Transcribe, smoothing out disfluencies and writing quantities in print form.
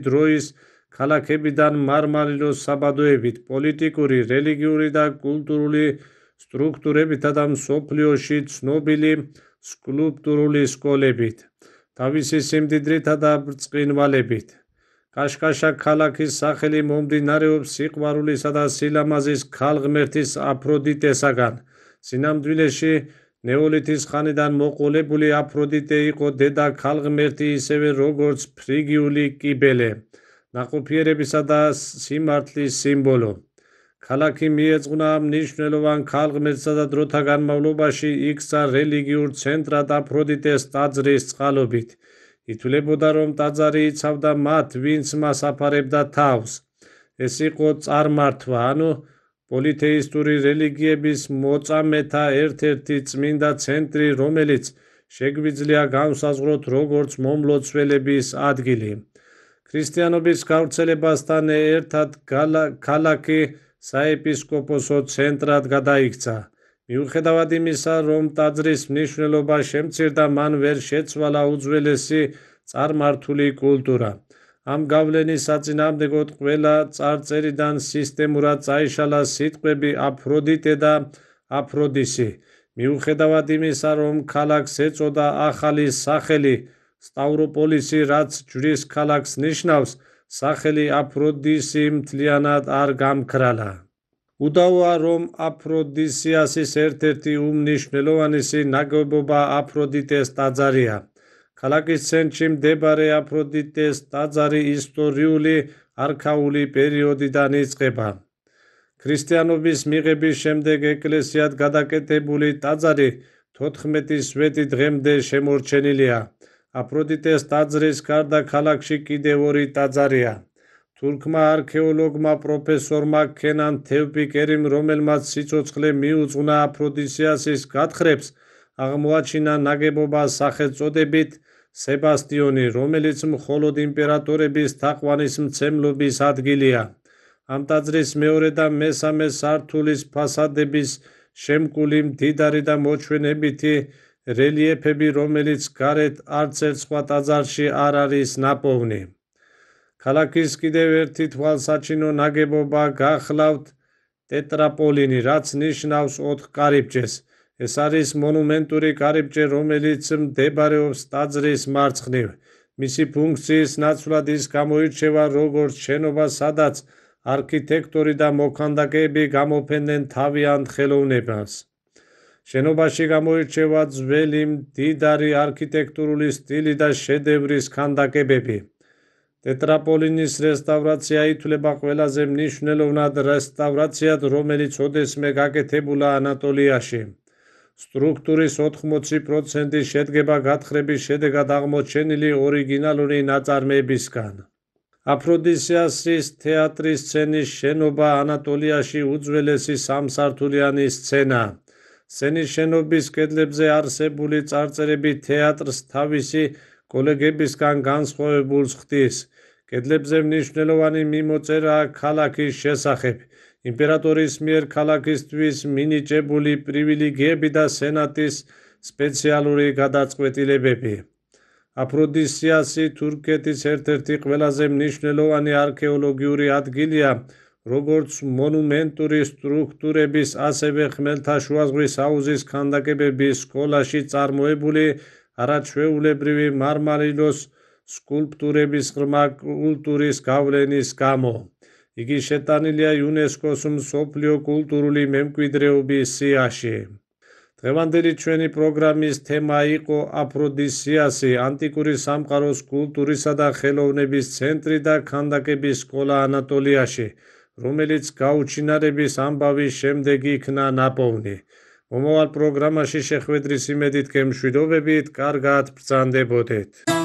დროის ქალაქებიდან მარმარილოს საბადოებით, პოლიტიკური, რელიგიური და კულტურული სტრუქტურებითა და მსოფლიოში ცნობილი სკულპტურული სკოლებით, თავისი სიმდიდრითა და ბრწყინვალებით. კაშკაშა ქალაქის სახელი მომდინარეობს სიყვარულისა და სილამაზის ქალღმერთის აფროდიტესაგან. სინამდვილეში ნეოლითის ხანიდან მოყოლებული აფროდიტე იყო დედა ქალღმერთი, ისევე როგორც ფრიგიული კიბელე, ნაყოფიერებისა და სიმართლის სიმბოლო. ქალაქი მიეძღვნა მნიშვნელოვან ქალღმერთსა და დროთა განმავლობაში იქცა რელიგიურ ცენტრად აფროდიტეს ტაძრის წყალობით. ითვლებოდა, რომ ტაძარი იცავდა მათ, ვინც მას აფარებდა თავს. ეს იყო წარმართვა, ანუ პოლითეისტური რელიგიების მოწამეთა ერთ-ერთი წმინდა ცენტრი, რომელიც შეგვიძლია განვსაზღვროთ როგორც მომლოცველების ადგილი. ქრისტიანობის გავრცელებასთან ერთად ქალაქი საეპისკოპოსო ცენტრად გადაიქცა. მიუხედავად იმისა, რომ ტაძრის მნიშვნელობა შემცირდა, მან ვერ შეცვალა უძველესი წარმართული კულტურა. ამ გავლენის საწინააღმდეგოდ ყველა წარწერიდან სისტემურად წაიშალა სიტყვები აფროდიტე და აფროდისი. მიუხედავად იმისა, რომ ქალაქს ეწოდა ახალი სახელი სტავროპოლისი, რაც ჯვრის ქალაქს ნიშნავს, სახელი აფროდისი მთლიანად არ გამქრალა. უდავოა, რომ აფროდისიასის ერთ-ერთი უმნიშვნელოვანესი ნაგებობა აფროდიტეს ტაძარია. ქალაქის ცენტრში მდებარე აფროდიტეს ტაძარი ისტორიული არქაული პერიოდიდან იწყება. ქრისტიანობის მიღების შემდეგ ეკლესიად გადაკეთებული ტაძარი 14 სვეტი დღემდე შემორჩენილია. აფროდიტეს ტაძრის გარდა ქალაქში კიდევ ორი ტაძარია. თურქმა არქეოლოგმა პროფესორმა ქენან თევპიკერიმ, რომელმაც სიცოცხლე მიუძღვნა აფროდისიასის გათხრებს, აღმოაჩინა ნაგებობა სახელწოდებით სებასტიონი, რომელიც მხოლოდ იმპერატორების თაყვანისმცემლობის ადგილია. ამ ტაძრის მეორე და მესამე სართულის ფასადების შემკული მდიდარი და მოჩვენებითი რელიეფები, რომელიც გარეთ არც ერთ სხვა ტაძარში არ არის ნაპოვნი. ქალაქის კიდევ ერთი თვალსაჩინო ნაგებობა გახლავთ ტეტრაპოლინი, რაც ნიშნავს 4 კარიბჭეს. ეს არის მონუმენტური კარიბჭე, რომელიც მდებარეობს ტაძრის მარცხნივ. მისი ფუნქციის ნაცვლად ის გამოირჩევა როგორც შენობა, სადაც არქიტექტორი და მოქანდაკეები გამოფენდნენ თავიანთ ხელოვნებას. შენობაში გამოირჩევა ძველი მდიდარი არქიტექტურული სტილი და შედევრის ქანდაკებები. ტეტრაპოლინის რესტავრაცია ითვლება ყველაზე მნიშვნელოვნად რესტავრაციად, რომელიც ოდესმე გაკეთებულა ანატოლიაში. სტრუქტურის 80% შედგება გათხრების შედეგად აღმოჩენილი ორიგინალური ნაწარმოებისგან. აფროდისიასის თეატრის სცენის შენობა ანატოლიაში უძველესი სამსართულიანი სცენაა. სცენის შენობის კედლებზე არსებული წარწერები თეატრს თავისი კოლეგებისგან განსხვავებულს ხდის. კედლებზე მნიშვნელოვანი მიმოწერაა ქალაქის შესახებ, იმპერატორის მიერ ქალაქისთვის მინიჭებული პრივილეგიები და სენატის სპეციალური გადაწყვეტილებები. აფროდისიასი თურქეთის ერთ-ერთი ყველაზე მნიშვნელოვანი არქეოლოგიური ადგილია, როგორც მონუმენტური სტრუქტურების, ასევე ხმელთაშუა ზღვის აუზის ქანდაკებების სკოლაში წარმოებული არაჩვეულებრივი მარმარილოს სკულპტურების ღრმა კულტურის გავლენის გამო. იგი შეტანილია იუნესკოს მსოფლიო კულტურული მემკვიდრეობის სიაში. დღევანდელი ჩვენი პროგრამის თემა იყო აფროდისიასი, ანტიკური სამყაროს კულტურისა და ხელოვნების ცენტრი და ქანდაკების სკოლა ანატოლიაში, რომელიც გაუჩინარების ამბავის შემდეგ იქნა ნაპოვნი. მომავალ პროგრამაში შეხვედრის იმედით გემშვიდობებით, კარგად ბრძანდებოდეთ.